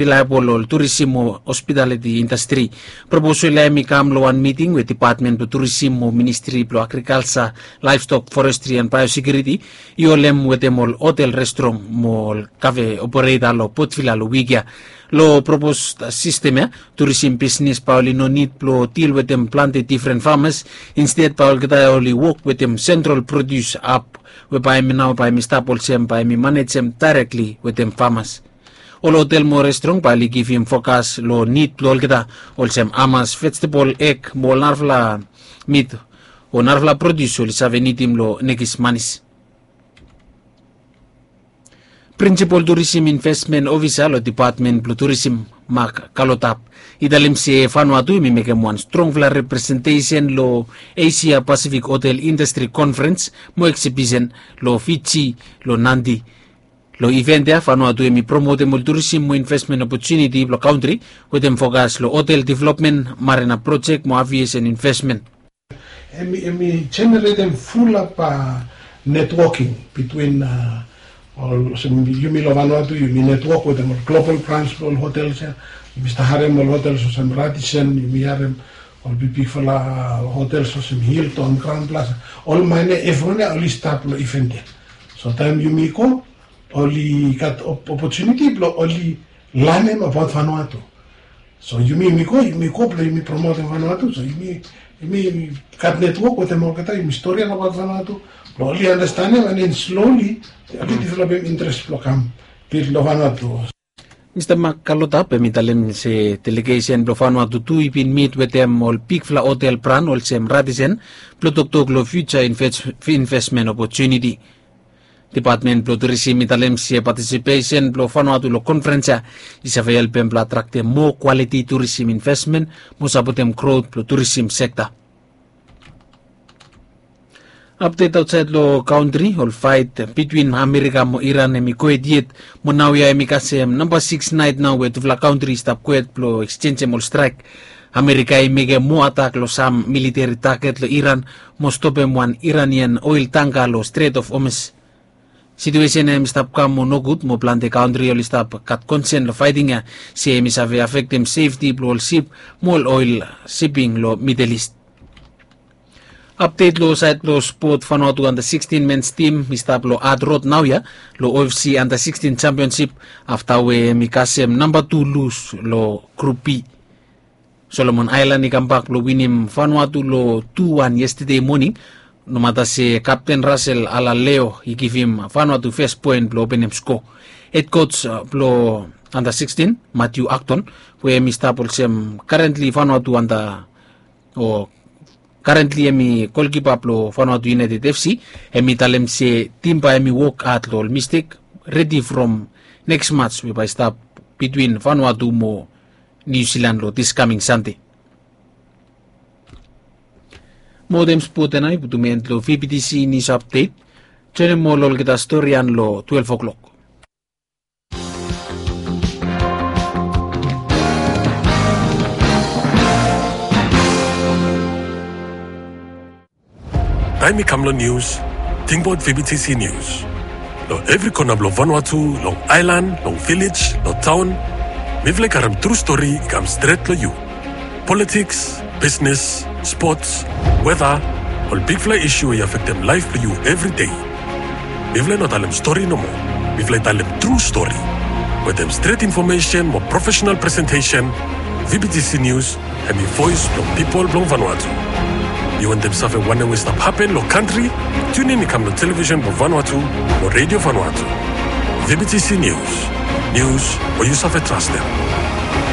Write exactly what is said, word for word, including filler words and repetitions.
rilaebol ol turisim mo hospitaliti indastri. Proposol ya hem i kam long wan miting we dipatmen blong turisim mo ministri blong agrikalsa, laevstok, forestri an baeosekiuriti i holem wetem ol hotel, restrong mo ol kafe opereta long Potvila long wik ya. Long propos sistem ya, turisim bisnis bae oli no nid blong dil wetem plante difren famas. Insted bae olgeta oli wok wetem sentral produs ap we bae hem i nao bae hem i stap olsem bae hem i manejem daerekli wetem famas. Ol hotel mo restrong bae oli givim fokas long nid blong olgeta, olsem hamas, vejetebol, eg mo ol narafala mit o narafala produs oli save nidim long nekis manis. Prinsipol turisim investmen ofisa long dipatmen blong turisim, Mak Kalotap, i talem se Vanuatu hem i mekem wan strongfala representesen long Esia Pasifik Hotel Indastri Konferens mo Eksibisen long Fiji, long Nadi. Long iven ya Vanuatu hem i promotem ol turisim mo investmen opotuniti blong kantri wetem fokas long hotel developmen, marina projek mo aviesen investmen. Hem i jeneretem fulap netwoking bitwin ol, olsem yumi long Vanuatu yumi netwok wetem ol global brans blong ol hotels ya. Yumi stap harem ol hotels olsem Radisson, yumi harem ol bigbigfala hotels olsem Hilton, Crowne Plaza. Ol maine evriwan ya oli stap long iven ya. So taem yumi go oli gat opotuniti blong oli lanem abaot Vanuatu. So yumi yumi go yumi go blong yumi promotem Vanuatu. So yumi yumi gat netwok wetem olgeta, yumi storian abaot Vanuatu blong oli anastenem an den sloli oli developem interes blong kam bil long Vanuatu. Mista Mak Kalotap hem i talem se delegesen blong Vanuatu tu i bin mit wetem ol bigfala hotel bran olsem Radisson blong toktok long fiuja investmen opotuniti. Dipatmen blong turisim i talem se patisipesen blong Vanuatu long konferens ya i save helpem blong atraktem moa kwaliti turisim investmen mo sapotem grot blong turisim sekta. Apdet aotsaed long kantri, ol faet bitwin Amerika mo Iran hem i kwet yet mo naoia hem i kasem namba siks naet nao we tufala kantri i stap kwet blong eksjenjem ol straek. Amerika i mekem moa atak long sam militeri taget long Iran mo stopem wan Iranian oel tangka long Stret of Hormuz. Situesen ya hem i stap kam mo nogud mo plante kantri oli stap gat konsen long faeting ya se hem i save afektem sefti blong ol sip mo ol oel siping long Midel Ist. Apdet long saed blong spot, Vanuatu anda sikstin mens tim i stap long adrod naoia long O F C anda sikstin jampionsip afta we hem i kasem namba tu lus long Grup B. Solomon Aelan i kambak blong winim Vanuatu long tu wan yestade moning, nomata se kapten Rasel Alaleo i givim Vanuatu fes poen blong openem sko. Hed koj blong anda sikstin, Matiu Akton, we hem i stap olsem karentli Vanuatu anda o karentli hem i golkipa blong Vanuatu United F C, hem i talem se tim bae hem i wok had long ol mistek, redi from neks mats we bae i stap bitwin Vanuatu mo Niu Silan long dis kaming Sande. Mo dem spot ya nao i putum en long V B T C News Update. Joinim ol olgeta stori ya long twelef o'clock. Taem i kam long nius, tingbaot V B T C News. Long evri kona blong Vanuatu, long aelan, long vilej, long taon, mifala i karem tru stori i kam stret long yu. Politiks, bisnes, spots, weta, ol bigfala isu we i afektem laef blong yu evri dei. Mifala i no talem stori nomo. Mifala i talem tru stori. Wetem stret infomesen mo profesenal presentesen, V B T C News hem i voes blong pipol blong Vanuatu. Yu wantem save wanem we i stap hapen long kantri? Tiunin i kam long televisen blong Vanuatu mo Redio Vanuatu. V B T C News. Nius we yu save trastem.